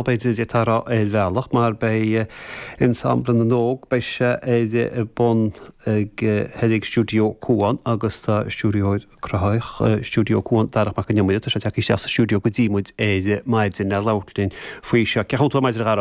B'fhéidir d'fhéadfá a rá ar bhealach, mar beidh Ensemble na nÓg, beidh sé ar bun ag thoir ag Stiúideo Cuan agus tá stiúrthóir cruthaitheach Stiúideo Cuan, Darach Mac Con Iomaire, tá sé tagtha isteach sa stiúideo go dtí muid ar maidin le labhairt linn faoi seo. Cén chaoi a bhfuil tú ar maidin a Dharach?